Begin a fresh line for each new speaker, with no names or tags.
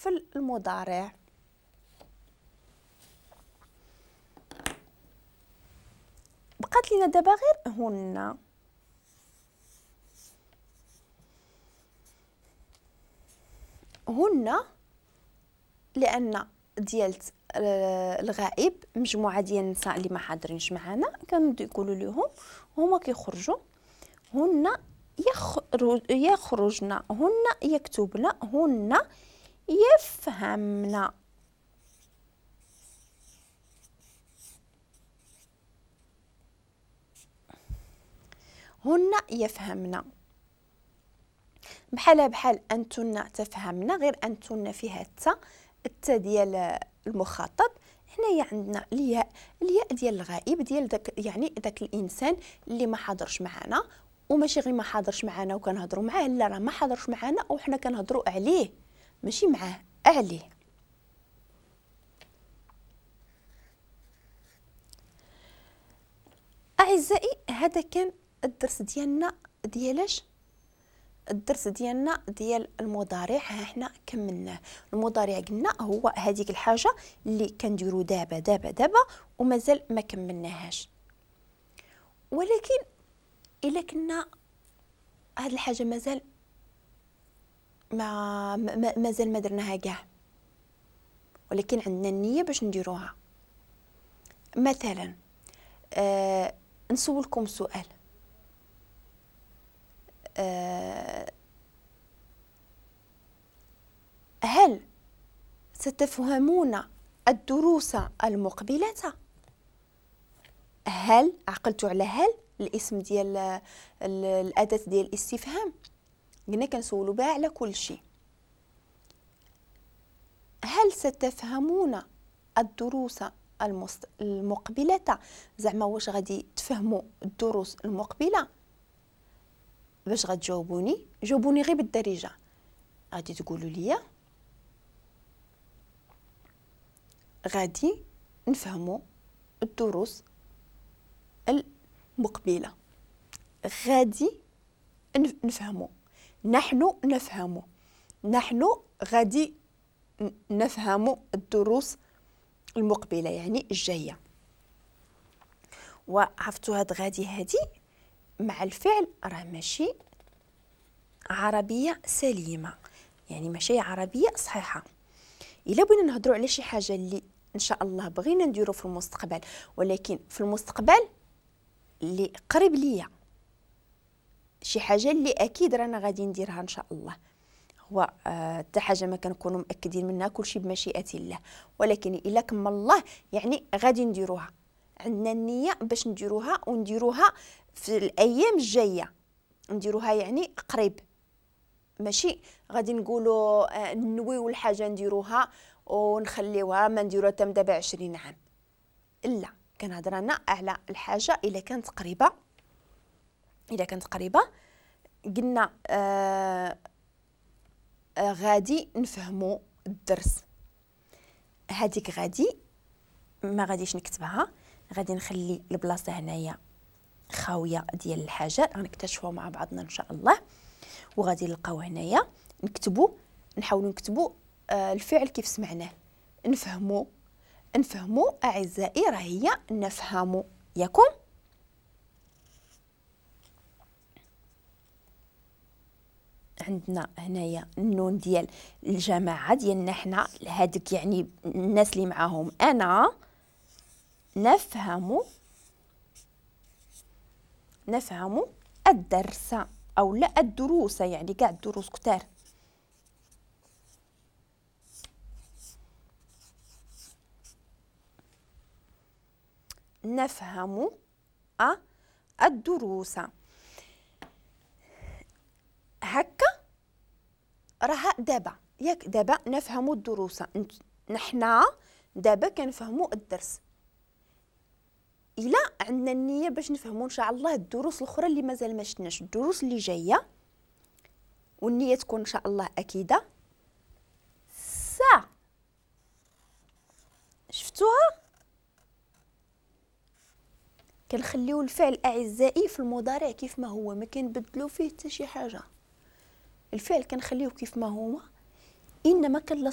في المضارع. بقات لنا دابا غير هن. هن لان ديالت الغائب مجموعة ديال النساء اللي ما حاضرينش معنا كنقولوا لهم هما كيخرجوا. هن يخرجن، هن يكتبن، هن يفهمن. هن يفهمن بحال بحال انتن تفهمن، غير انتن فيها التا، التا ديال المخاطب. هنايا عندنا الياء، الياء ديال الغائب ديال داك، يعني داك الانسان اللي ما حاضرش معنا، وماشي غير ما حاضرش معنا وكنهضروا معاه، لا راه ما حاضرش معنا وحنا كنهضروا عليه، ماشي معاه، عليه. اعزائي هذا كان الدرس ديالنا ديالاش؟ الدرس ديالنا ديال المضارع. ها حنا كملناه. المضارع قلنا هو هذيك الحاجة اللي كنديرو دابا دابا دابا ومازال ما كملناهاش، ولكن الا كنا هاد الحاجة مازال ما مازال ما درناها كاع، ولكن عندنا النية باش نديروها. مثلا نسولكم سؤال، هل ستفهمون الدروس المقبلة؟ هل عقلتوا على هل الاسم ديال الأداة ديال الاستفهام؟ قلنا كنسولوا بها على كل شيء. هل ستفهمون الدروس المقبلة؟ زعما واش غادي تفهموا الدروس المقبلة؟ باش غتجاوبوني جاوبوني غير بالدارجة. غادي تقولوا لي غادي نفهموا الدروس المقبلة، غادي نفهموا، نحن نفهموا، نحن غادي نفهموا الدروس المقبلة يعني الجاية. وعرفتوا هاد غادي هادي مع الفعل راه ماشي عربية سليمة، يعني ماشي عربية صحيحه. الا بغينا نهضروا على شي حاجة اللي ان شاء الله بغينا نديرو في المستقبل، ولكن في المستقبل اللي قريب ليا، شي حاجة اللي اكيد رانا غادي نديرها ان شاء الله، هو حتى حاجة ما كنكونوا مأكدين منها، كلشي بمشيئة الله، ولكن الا كمل الله يعني غادي نديروها، عندنا النية باش نديروها، ونديروها في الايام الجاية، نديروها يعني قريب، ماشي غادي نقولوا نويو الحاجة نديروها ونخليوها ما نديروها حتى دابا 20 عام. لا، كنهضر انا على الحاجة الا كانت قريبه. الا كانت قريبه قلنا غادي نفهموا الدرس. هذيك غادي ما غاديش نكتبها، غادي نخلي البلاصة هنايا خاوية ديال الحاجة غنكتشفوها مع بعضنا ان شاء الله، وغادي نلقاو هنايا نكتبوا، نحاولوا نكتبوا الفعل كيف سمعناه، نفهموا. نفهموا اعزائي راه هي نفهموا، ياكم؟ عندنا هنايا النون ديال الجماعة ديالنا حنا، هادوك يعني الناس اللي معاهم انا. نفهم، نفهم الدرس او لا الدروس، يعني كاع الدروس كتار. نفهم الدروس هكا راها دابا، ياك؟ دابا نفهم الدروس، نحنا دابا كنفهموا الدرس. الا عندنا النية باش نفهموا ان شاء الله الدروس الاخرى اللي مازال ما شفناش، الدروس اللي جاية، والنية تكون ان شاء الله اكيدة. سا شفتوها؟ كنخليو الفعل اعزائي في المضارع كيف ما هو، ما كنبدلو فيه حتى شي حاجة. الفعل كنخليوه كيف ما هو، انما كنلصقوا